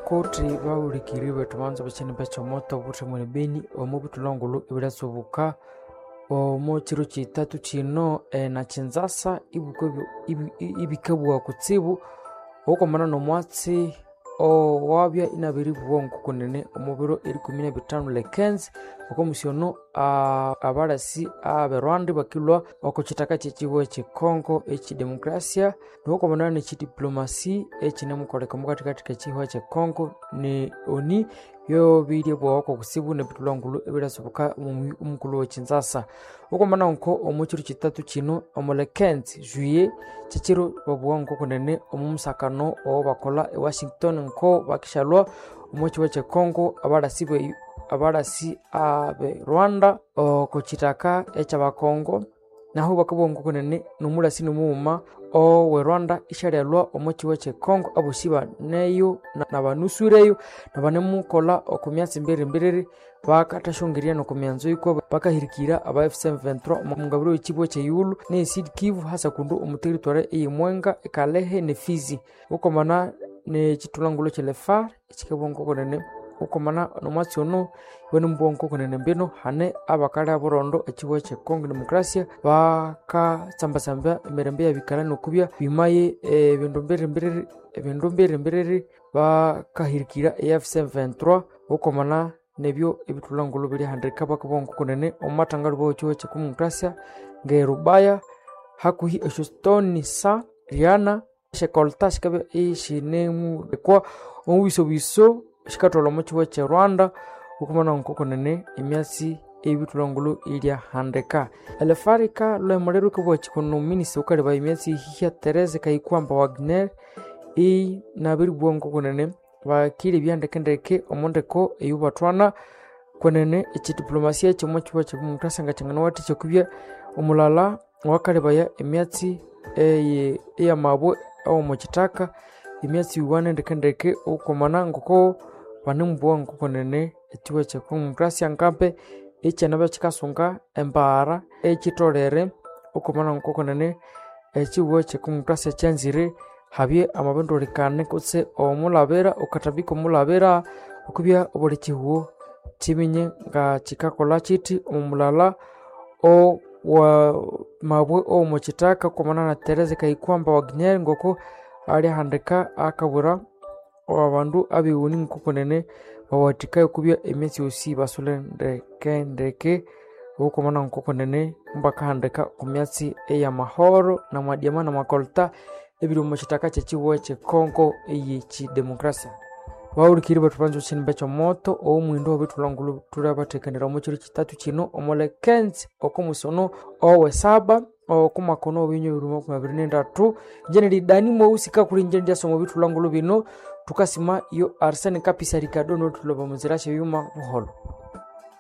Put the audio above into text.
Kuti bahulikiriri bethu banza bekyinimba ekyomoto obuthemu ne Beni omo bithulhangulhu ebiryasubuka omo kiro kithathu kino na Kinzasa ibikabugha kutsibu okwamana nomwatsi owabya inabiribugha ngokunene omo biro erikumi nabithanu lekenzi okomusi ono abalasi abe Rwanda bakilhwa oko kithaka kyekyihugho ekye Congo ekyidemokrasia nokwamana nekyidiplomacy ekinemukoleka omukathikathi kekyihugho ekye Congo ne ONU byobirye kutsibu nebithulhangulhu ebiryasubuka omukulhu we Kinzasa. Okwamana nko omo kiro kithathu kino omo lekenzi juillet kyekiro babugha ngokunene omo musakano owabakolha e Washington nko bakishalhwa omo kihugho ekye Congo abalasi abe Rwanda oko kithaka ekyabakongo nahu bakabugha ngokunene nomulasi nomughuma owe Rwanda isyalyalhwa omo kihugho ekye Congo abosi baneyo nabanusureyo nabanemukolha oko myatsi mbiririmbiriri bakathasyongerya noko myanzo yikwa bakahirikira aba M23 omungabiro y'ekibuga ky'eyighulhu ne Sud Kivu hasa kundu omu territory eye Mwenga, Kalehe ne Fizi. Okwamana nekyithulhangulhu ekye Lefar ekikabugha ngokunene okwamana nomwatsi ono ibanemubugha ngokunene mbino hane abakalha burondo ekihugho ekye Congo Democracia bakatsambatsamba emirembe eyabikalha nokubya bimaye ebindu mbiririmbiriri bakahirikira AFC/M23 okwamana nebyo ebithulhangulhu biryahandika bakabugha ngokunene omu mathangalhuba w'ekihugho ekye Congo Democracia nge Rubaya hakuhi esyostone sa Riana esyekolta sikabya isinemulekwa omu bisobiso sikathwalha omo kihugho ekye Rwanda okwamana ngokunene emyatsi ey'ebithulhangulhu iryahandika. Elefarika lhwemuliro rukabugha kikono omuminista wukalebaya emyatsi eyihya Therese Kayikwamba Wagner inabiribugha ngokunene bakilebya ndekendeke omo ndeko eyobathwana kwenene ekyidiplomasia kyomo kihugho ekye Demokrasia ngakyanganawathikya okubya omulala owakalebaya emyatsi eyamabwe awomo kithaka emyatsi yiwana ndekendeke okwamana ngoko banemubugha ngokunene ekihugho ekye Demokrasia ngambe ekyanabya kikasunga embaghara ekyitolere okwamana ngokunene ekihugho ekye Demokrasia kyanzire habye amabindulikane kutse omulabira okathambika omulabira okubya obuli kihugho kyiminye nga kikakolha kithi omu mulala owa mabwe owomo kithaka okwamana na Therese Kayikwamba Wagner ngoko alyahandika akabwira abandu abeghuni ngokunene bawathikaye okubya emyatsi yosi ibasule ndekendeke okwamana ngokunene mubakahandika oko myatsi eyamahoro namadiama namakolta ebiri omo kithaka kyekyihugho ekye Congo eyekyidemokrasia. Bahulikiriri bethu banza ekyinimba ekyomoto owomuhindo wabithulhangulhu thulyabathekanira omo kiro kithathu kino omo lekenzi okomusi ono owesaba okomwaka ono owebinywa bibiri makumi abiri nendatu. Inje nili Dani Mweusi kakuli inje ndyasoma ebithulhangulhu bino thukasima yo Arsene Kapisa Ricardo nothulhaba munzira syebyuma buholho.